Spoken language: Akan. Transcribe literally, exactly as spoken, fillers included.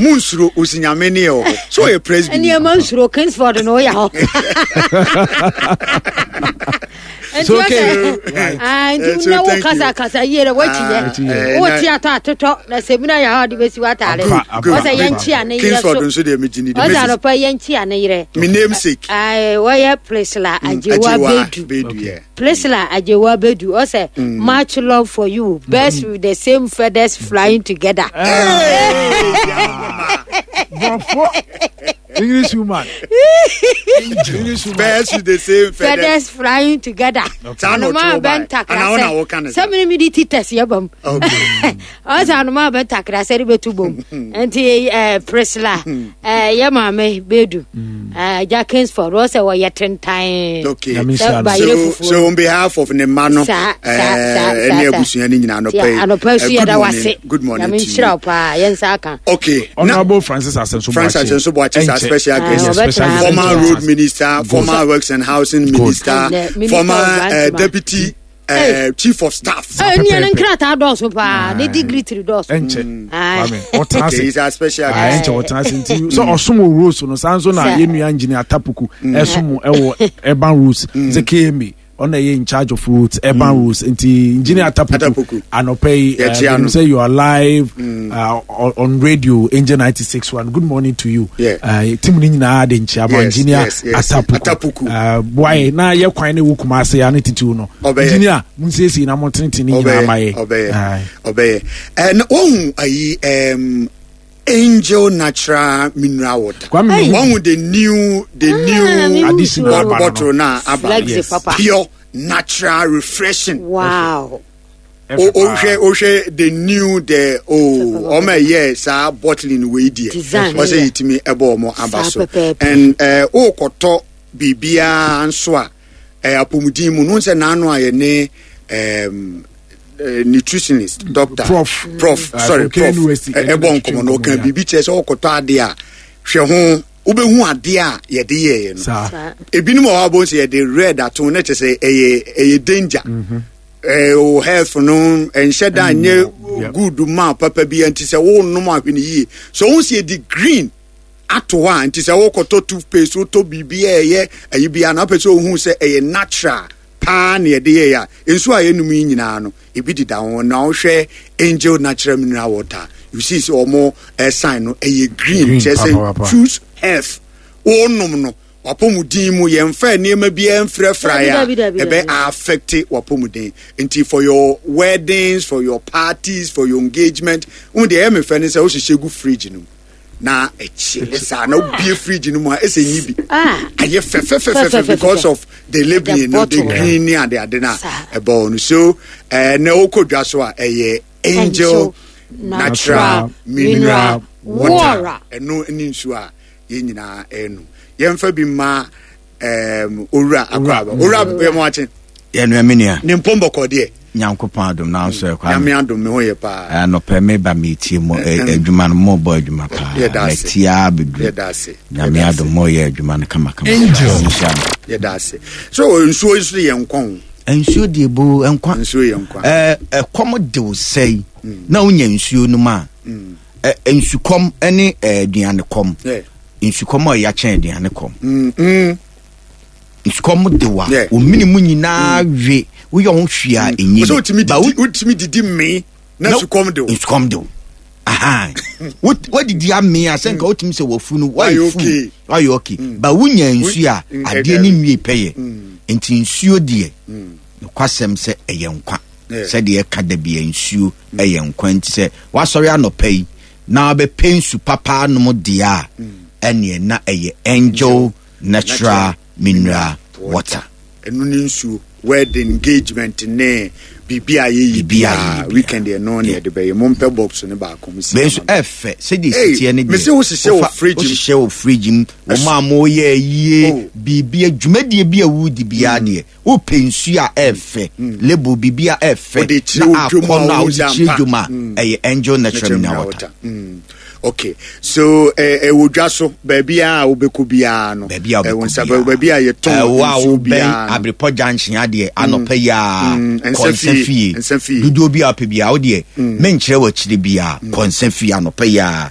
Mu nsuro, osinyame ne yɛ wɔ hɔ so, ɔyɛ Presby. Nneɛma nsuro Kingsford na ɔyɛ hɔ. It's okay. Ah, nti So na wo thank you. kasa kasa yie dɛ wakyi Ah, yɛ eh, wo na- ti atɔ atotɔ na sɛmina yɛ hɔ de bɛsi w'ataare. Ampa, ampa. Ɔsɛ yɛnkyi a ne yerɛ Kingsford so nso deɛ megye ne di. Ɔsɛ Mrs. anɔpa yɛnkyi a ne yerɛ. Me namesake. Ae, wɔyɛ Priscilla Agyewa Bedu. Bedu, yeah. Priscilla Agyewa Bedu ɔsɛ much love for you, birds with the same feathers flying together. Brɔfo English woman, English woman. Birds with the same feathers. Feathers flying together. Saa na Anoma ɔtwerɛ bɛ bae. ntakra Anaa wo na sɛ woka ne saa? Sɛ mene mede ti tɛs yɛ bam. Okay. Ɔsɛ anoma bɛ ntakra sɛ de bɛtu bom, nti eh, Priscilla, eh, yɛ maame Bedu, eh, agya Kingsford ɔsɛ wɔyɛ tentan. Okay. Nyame sɛ nhyira no. bayerɛ So, fufuo. so on behalf of ne mma no, Saa, saa, eh, saa, ɛne saa, saa. abusua no nyinaa Nti anɔpa yi. anɔpa so eh, yɛda good morning, wase. good morning Nyame to nhyira you. wo paa, yɛnsa aka. Okay. Na Honorable Francis Asenso. Francis Asenso Boakye is our special Ah, guest. ɔbɛtena. Former road minister, former works and housing minister, And the minister former of uh, Grantma. deputy uh, chief of staff. Eh, nea ne nkrataa dɔɔso paa, ne degree tiri dɔɔso. Ɛnkyɛ. Aye. Kwame ɔtena Okay, ase. he's our special Ah, guest. ɛnkyɛ ɔtena ase, nti sɛ ɔsom wɔ roads no saa nso na Sɛ. yɛn nua engineer Atapuku ɛsom ɛwɔ urban roads, sɛ K M A ɔna ɛyɛ in charge of roads, urban roads, nti Engineer Atapuku Atapuku. anɔpɛ yi, Yɛkyia uh, no. sɛ you are live uh, on on radio Angel ninety-six point one, good morning to you. Yeah. uh, team ni nyinaa de nkyia ma Yes, Engineer yes, yes. Atapuku. Atapuku. uh, boaye na yɛ kwan ne wo Kumase ya ne titiw no. Ɔbɛyɛ. Engineer, munsiesie na mo tenetene ne nyinaa ma yɛ. Ɔbɛyɛ. Aye. Ɔbɛyɛ. Eh, na wohu ayi um, Angel Natural Mineral Water. Kwame. Wohu the new the Ah, new mehu Addition so. aba no. bottle na aba. Flexi Yes. papa. Pure, natural, refreshing. Wow. O ohwɛ ohwɛ the new the oh, ɔmo ɛyɛ saa bottling wei deɛ, Design, ɔsɛ yeah. yɛtumi ɛbɔ ɔmo aba Saa so. pɛpɛɛpɛ. And ɛɛ ɔɔkɔtɔ biribiara nso a ɛɛ apɔmuden mu no sɛ n'ano a yɛne ɛɛm ɛɛ nutritionist doctor Prof. Prof Uh, sorry, from Prof K N U S T, ɛ- ɛbɔ nkɔmɔ no, ɔka yeah. biribi kyerɛ sɛ ɔkɔtɔ adeɛ a, hwɛ ho, wobɛhu adeɛ a yɛde yɛɛ no. Saa. Saa. Ebinom wɔ hɔ a, bɔn sɛ yɛde red ato ne kyerɛ sɛ ɛyɛ ɛyɛ danger, ɛɛ o health no ɛnhyɛ da nyɛ Yep. good ma papa bi. Nti sɛ wonom ahwɛ no yie so, ohun sɛ yɛde green ato hɔ a, nti sɛ wokɔtɔ toothpaste, wotɔ biribi a ɛyɛ ayi bia na wopɛ sɛ ohun sɛ ɛyɛ natural paa na yɛde yɛyɛ a, nsuo a yɛnum yi nyinaa no ebi deda ho. Na wohwɛ Angel Natural Mineral Water, you see sɛ ɔmo ɛsan no ɛyɛ green. Green, kyerɛ sɛ papa, papa. choose health. Wonom no wapɔmuden mu, yɛmfa nneɛma biara mfrɛfra a Dabi, dabi, dabi, ɛbɛ dabi. Affect wapɔmuden. Nti for your weddings, for your parties, for your engagement, wo deɛ ɛyɛ me fɛ ne sɛ wohyehyɛ gu fridge no mu na ɛkyele saa na wobie fridge no mu a, ɛsɛ nyi bi Ah. ayɛ fɛfɛfɛfɛ Fɛfɛfɛfɛ. because of the labelling no, the bottle. green ne ade ade na Saa. ɛbɔ hɔ no. So ɛɛ na wokɔ dwa so a, ɛyɛ Angel Angel Natural Natural Mineral Mineral Water. Water. Ɛno ne nsuo a yɛn nyinaa ɛnu. Yɛmfa bi ma ɛɛm owura Akɔaba. Owura, yɛ mo akye. Yɛnua, me nua. Ne mpɔmbɔkɔ deɛ? Nyankopɔn adom, nanso ɛkwa. Nyame adom, me ho yɛ paa. Anɔpɛ meba metie mu ɛ- adwuma no, mobɔ adwuma paa. Yɛda ase. Matia bɛduru. Yɛda ase. Nyame Yɛda ase. adom, moyɛ adwuma no kamakama. Angel. Nhyira mo. Yɛda ase. So nsuo yi so yɛ nkwa o. Nsuo deɛ bo nkwa. Nsuo yɛ nkwa. Ɛ, ɛkɔm de wo sɛi na wonya nsuo no mu a, ɛ, nsukɔm ne ɛ, aduane kɔm. Yeah. Nsukɔm a ɔyɛ akyɛn aduane kɔm. Mm, mm. Nsukɔm de wo a, Yeah. omini mu nyinaa we, woyɛ ho hwee a ɛnyi. Sɛ wotumi didi wotumi didi mmee na sukɔm de wo. Nsukɔm de wo. Aha. Wot- wadidi amee a, sɛ nka wotumi sɛ wafu no Wayɛ wayɛ fu. okay. Wayɛ okay, ba wonya nsuo a, Mm, adeɛ ne nwie pɛyɛ. Nti nsuo deɛ, nokwasɛm sɛ ɛyɛ nkwa. Yeah. Sɛdeɛ ɛka da bia, nsuo ɛyɛ nkwa. Nti sɛ wasɔre anɔpa yi na wabɛpɛ nsu papa anom deɛ a, ɛneɛ na ɛyɛ Angel Natural Mineral Water. Ɛno ne nsuo, wedding, engagement ne biribi a yɛyi. Biribi a biara yɛyi biara. Weekend ɛno ne yɛde bɛyɛ. Mompɛ box ne baako mo si bɛn nso ama me. ɛfɛ sɛdeɛ Hey, siteɛ ne deɛ. mese wohyehyɛ wɔ wofa- fridge mu. Wohyehyɛ wɔ fridge mu, wɔn a moyɛ yie. Oh. Biribi dwumadie bi a wodi biara deɛ, wopɛ nsuo a ɛɛfɛ, label biribi a ɛɛfɛ Wode kyerɛ na wo dwom a akɔ no a wohu wode sɛ kyerɛ ampa. dwom a, ɛyɛ Angel Natural Mineral Water. Mm. Okay, so ɛwɔ dwa so baabi a wobɛkɔ biara no. Baabi a ɛwɔ wobɛkɔ nsa biara. baabi a yɛtɔn Ɛwɔ a nsuo wobɛn biara no. Abrepɔ Junction adeɛ, anɔpa yi a, Mm, kɔ nsa nsa fie, fie. Nsa fie. Dodoɔ bi a wopɛ biara, wodeɛ menkyerɛ wɔ akyire biara, kɔ nsa fie anɔpa yi a.